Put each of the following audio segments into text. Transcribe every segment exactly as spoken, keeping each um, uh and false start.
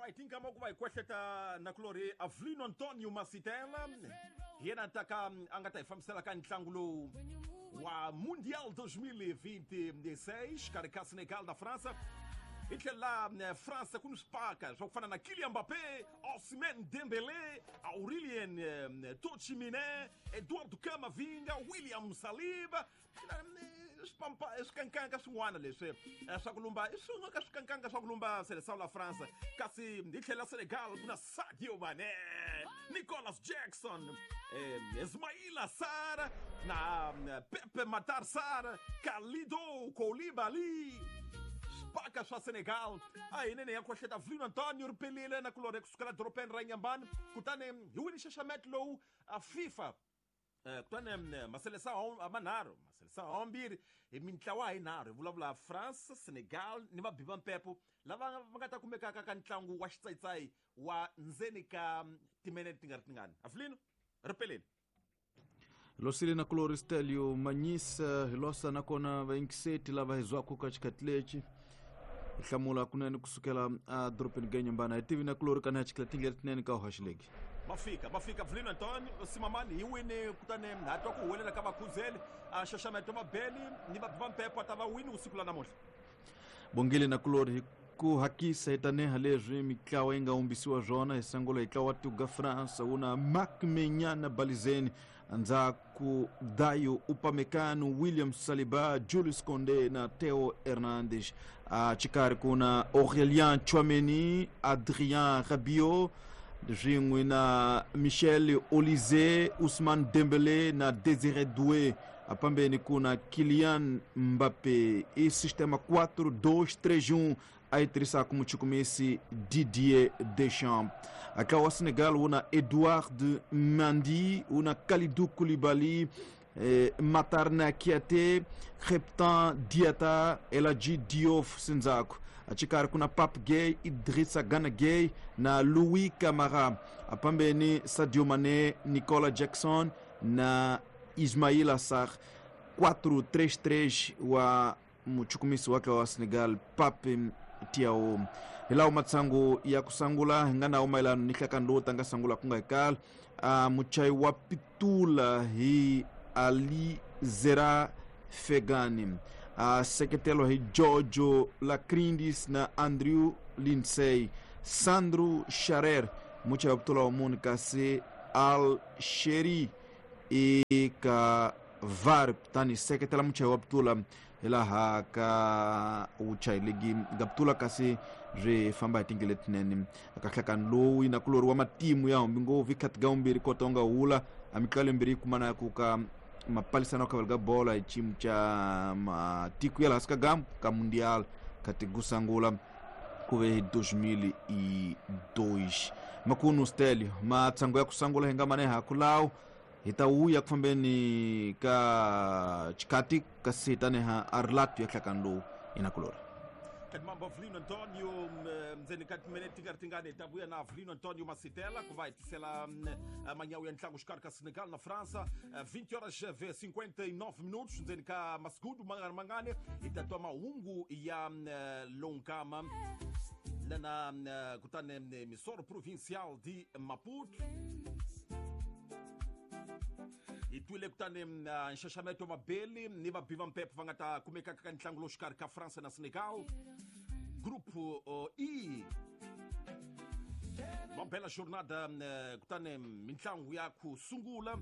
Alright, inkama ku va hi kwehleta nakulorhi Avelino Antonio Masitela hi yena ta ka a nga ta hi fambisela ka ntlangu lowu wa Mundial dois mil e vinte e seis xikarhi ka Senegal na França. Hi tlhela eh, França ku ni swipaka swa ku fana na Kylian Mbappé, Ousmane Dembélé, Aurélien eh, Tchouaméni, Eduardo Camavinga, William Saliba na, eh, swipampa swikankanga swin'wana leswi eh, swa ku lumba i swin'we ka swikankanga swa ku lumba Seleção la França. Kasi hi tlhela Senegal ku na Sadio Mané, Nicolas Jackson, eh, Ismaila Sarr na eh, Pepe Matar Sarr, Kalidou Koulibaly, swipaka swa Senegal. A hi nene ya kohleta Avelino Antonio ri pelile na kulorhe kusukela dorobeni ra Inhambane. Kutani hi wini nxaxameto lowu a FIFA. Eh, kutani mm, maseleção manharhu, maseleção ambirhi hi mintlawa hi nharhu, hi vulavula France, Senegal ni vabi va mpepo lava va nga ta kumekaka ka ntlangu wa xitsayitsayi wa ndzeni ka mm, timinete ti nga ri tingani. Avelino, ri peleni. Losile na kulori Stelio Manyisa, hi losa nakona vayingiseti lava hi zwaka ka xikhathi lexi hi hlamula kunene kusukela a dorobeni ga Inhambane. Hi tivi na kulori kana hi chikela tindlela tinene ka uhaxilegi. Va fika, va fika. Avelino Antonio Simamani hi wini. Kutani ha twa ku huwelela ka vakhuzeli a xaxameto mabeli ni vabi va mpepo a ta va wini usiku la namuntlha. Bongile na kulori, hi ku hakisa hi taneha leswi mitlawa yi nga humbisiwa swona. Hi sungula hi ntlawa wa tuga France, wu na Mike Maignan na balizeni, ndzhaku Dayot Upamecano, William Saliba, Julius Konde na Theo Hernandez. A xikarhi ku na Aurélien Tchouameni, Adrien Rabiot swin'we na Michel Olise, Ousmane Dembélé na Désiré Doué. Apambeni ku na Kylian Mbappé. I sistema quatro dois três um a yi tirhisaka muchukumisi Didier Deschamps. Aka wa Senegal wu na Edouard Mendy, wu na Kalidou Koulibaly, eh, Matar Niakhaté, Krépin Diatta, El Hadji Diouf sindzhaku. Axikarhi ku na Pape Gueye, Idrissa Gana Gueye na Louis Camara. Apambeni Sadio Mané, Nicolas Jackson na Ismaila Sarr. quatro três três wa muchukumisi wake wa Senegal Pape Thiaw. Hi lawo matsangu ya ku sangula hi nga nawo mayelano ni nhlakano lowu tanga sangula ku nga hi kala. uh, muchayi wa pitula hi Ali Zera Fegani, uh, seketelo hi Giorgio Lacrindis na Andrew Lindsay, Sandro Charer muchayi wa pitula wa munhu, kasi Al Sheri eka V A R. Kutani seketela muchayi wa pitula hi laha ka vuchayi legi nga pitula, kasi byi famba hi tindlela letinene ka nhlakano lowu nakulori wa matimu ya humbi ngopfu i khati ga vumbirhi kota u nga hula a mitlalo yimbirhi yi kumana ku ka mapalisano khavelo ka bola hi xiyimo xa matiko ya laha hansi ka gambu ka Mundial khati ku sungula ku ve hi dois mil e dois. Makunu Stelio, matsangu ya ku sungula hi nga mane haku lawo hi ta wuya ku fambeni ka xikati, kasi hi taneha a rilato ya nhlakano lowu inakulori. Mambo Avelino Antonio, ndzeni ka timinete ti nga ri tingani hi ta vuya na Avelino Antonio Masitela ku va hi tisela manyawu ya ntlangu xikarhi ka Senegal na França. vinte horas cinquenta e nove minutos, ndzeni ka masigudu mangani mangani hi ta twa mahungu ya lonkama lana. Kutani emissora provincial de Maputo hi twile kutani nxaxameto mabeli ni vabi va mpepo va nga ta kumekaka ka ntlangu lowu xikarhi ka France na Senegal, grupo E. Va bela jornada. Kutani mintlangu ya ku sungula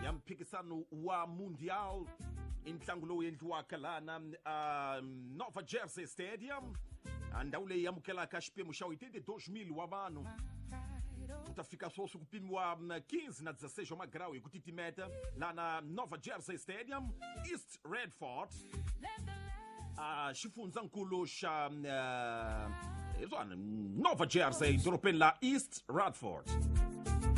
ya mphikisano wa Mundial i ntlangu lowu endliwaka lana uh, Nova Jersey Stadium, ndhawu leyi amukelaka xiphemu xa oitenta e dois mil wa vanhu. Ku ta fika sweswi ku pimiwa quinze na dezesseis wa magrawu hi ku titimeta lana Nova Jersey Stadium, East Redford, uh, xifundzankulu xa uh, hi swona Nova Jersey, dorobeni la East Radford.